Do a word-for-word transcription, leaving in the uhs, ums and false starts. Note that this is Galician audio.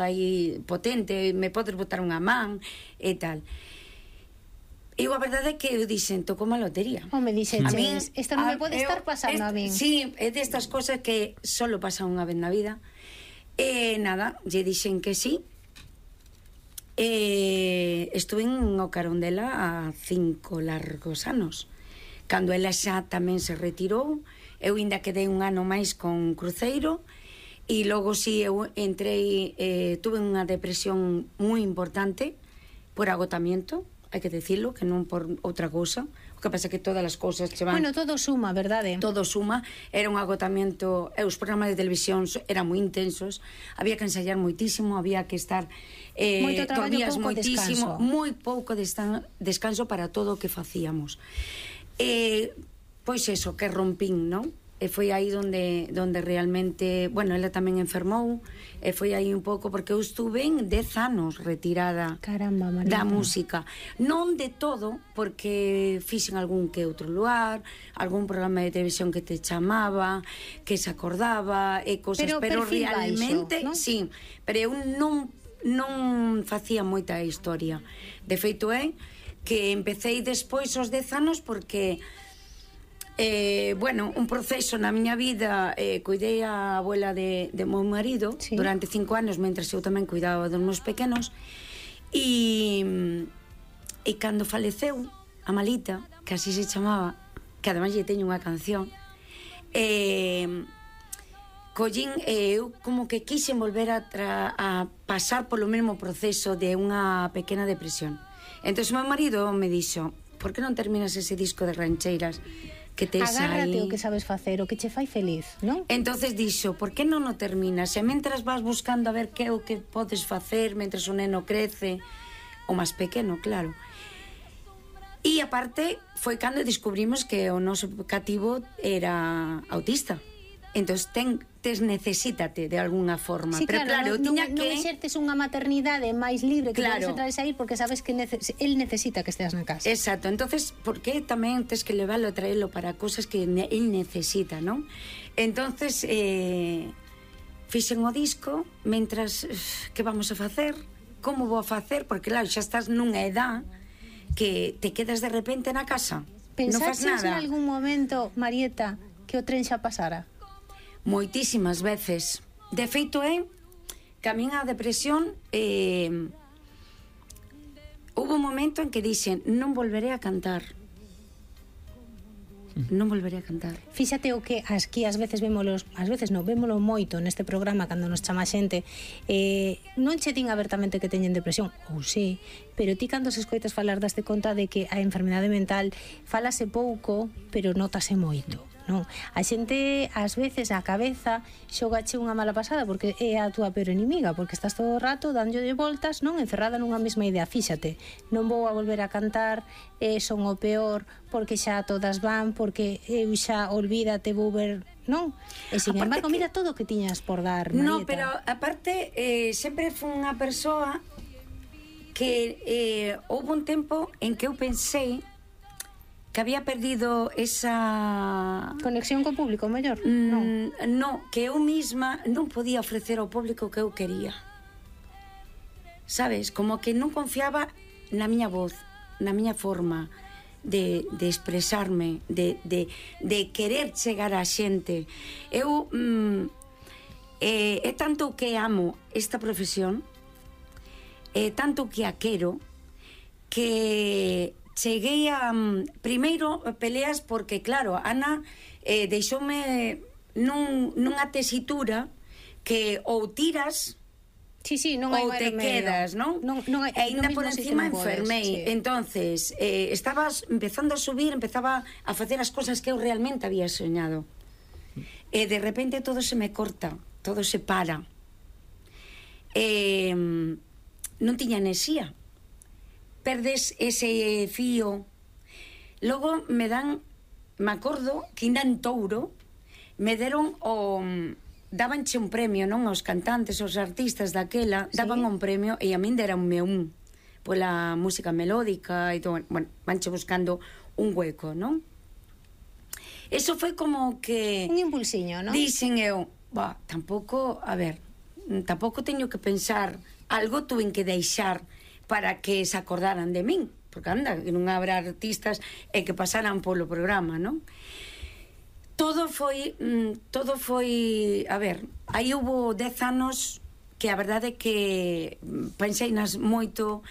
aí potente, me podes botar unha man e tal. Eu a verdade é que eu dixen, toco unha lotería. Home, dixeches, isto non me pode estar pasando a min. Sí, é destas cosas que solo pasa unha vez na vida. E nada, lle dixen que sí. E estuve en o carón dela a cinco largos anos. Cando ela xa tamén se retirou, eu ainda quedei un ano máis con cruceiro. E logo si eu entrei, eh, tuve unha depresión moi importante por agotamiento, hai que decirlo, que non por outra cousa. O que pasa é que todas as cousas che van... Bueno, todo suma, verdade? Todo suma, era un agotamiento, e os programas de televisión eran moi intensos, había que ensayar moitísimo, había que estar... Eh, Moito traballo, pouco moitísimo, descanso. moi pouco descanso para todo o que facíamos. Eh, pois eso, que rompín, non? E foi aí onde, onde realmente, bueno, ela tamén enfermou, e foi aí un pouco, porque eu estuve en dez anos retirada. Caramba, Marita. Da música. Non de todo, porque fixen algún que outro lugar, algún programa de televisión que te chamaba, que se acordaba, e cosas, pero, pero realmente, baixo, ¿no? Sí, pero eu non, non facía moita historia. De feito é que empecéi despois os dez anos porque... Eh, bueno, un proceso na miña vida, eh, cuidei a abuela de, de meu marido, sí, durante cinco anos, mentras eu tamén cuidaba dos meus pequenos, e e cando faleceu a Malita, que así se chamaba, que ademais lle teño unha canción, eh, collín, eh, eu como que quixen volver a, tra, a pasar polo mesmo proceso de unha pequena depresión. Entón o meu marido me dixo, por que non terminas ese disco de rancheiras que tes aí? Agárrate o que sabes facer, o que che fai feliz, non? Entonces dixo, por que non o terminas? E mentras vas buscando a ver que é o que podes facer mentras o neno crece, o máis pequeno, claro. E aparte foi cando descubrimos que o noso cativo era autista. Entón ten, tes necesítate de alguna forma. Sí, pero claro, claro, non, tiña non, que... non exertes unha maternidade máis libre, que claro, podes entrar e sair, porque sabes que nece el necesita que esteas na casa. Exacto, entonces, por que tamén tes que leválo e traelo para cosas que ne el necesita, non? Entonces, eh, fixen o disco, mentras, que vamos a facer? Como vou a facer? Porque claro, xa estás nunha edad que te quedas de repente na casa, non faz nada. Pensaches en algún momento, Marieta, que o tren xa pasara? Moitísimas veces. De feito é que a miña depresión eh, houve un momento en que dixen, non volveré a cantar. Non volveré a cantar. Fíxate o que aquí ás veces vémolos, ás veces non, vémolo moito neste programa cando nos chama xente, eh, non che din abertamente que teñen depresión, ou sí, pero ti cando se escoitas falar daste conta de que a enfermidade mental falase pouco, pero notase moito. Non, a xente ás veces a cabeza xogache unha mala pasada porque é a túa peor enemiga, porque estás todo o rato dándolle voltas, non, encerrada nunha mesma idea. Fíxate, non vou a volver a cantar, eh, son o peor porque xa todas van, porque eu xa olvídate, vou ver, non? E sin aparte embargo, que... mira todo o que tiñas por dar, Marieta. No, pero aparte eh, sempre foi unha persoa que eh, houve un tempo en que eu pensei que había perdido esa... Conexión co público, mellor? Mm, non. No, que eu misma non podía ofrecer ao público o que eu quería. Sabes? Como que non confiaba na miña voz, na miña forma de, de expresarme, de, de, de querer chegar á xente. Eu... Mm, eh, é tanto que amo esta profesión, é tanto que a quero, que... cheguei a... Primeiro, peleas porque, claro, Ana eh, deixoume nun, nunha tesitura que ou tiras sí, sí, non hai ou te remedio. quedas, non? non, non hai, e ainda por encima enfermei. Sí. Entonces, eh, estabas empezando a subir, empezaba a facer as cosas que eu realmente había soñado. E de repente todo se me corta, todo se para. Eh, non tiña enerxía. Perdes ese fío. Logo me dan, me acordo que ainda en Touro me deron o... dabanche un premio, non? Aos cantantes, aos artistas daquela, sí, daban un premio e a min deranme un pola música melódica e todo, bueno, vanche buscando un hueco, non? Eso foi como que... Un impulsiño, non? Dixen eu, bah, tampouco, a ver, tampouco teño que pensar, algo tuve que deixar para que se acordaran de min, porque anda, que non habrá artistas e que pasaran polo programa, non? Todo foi, todo foi, a ver, aí hubo dez anos que a verdade é que pensei nas moito,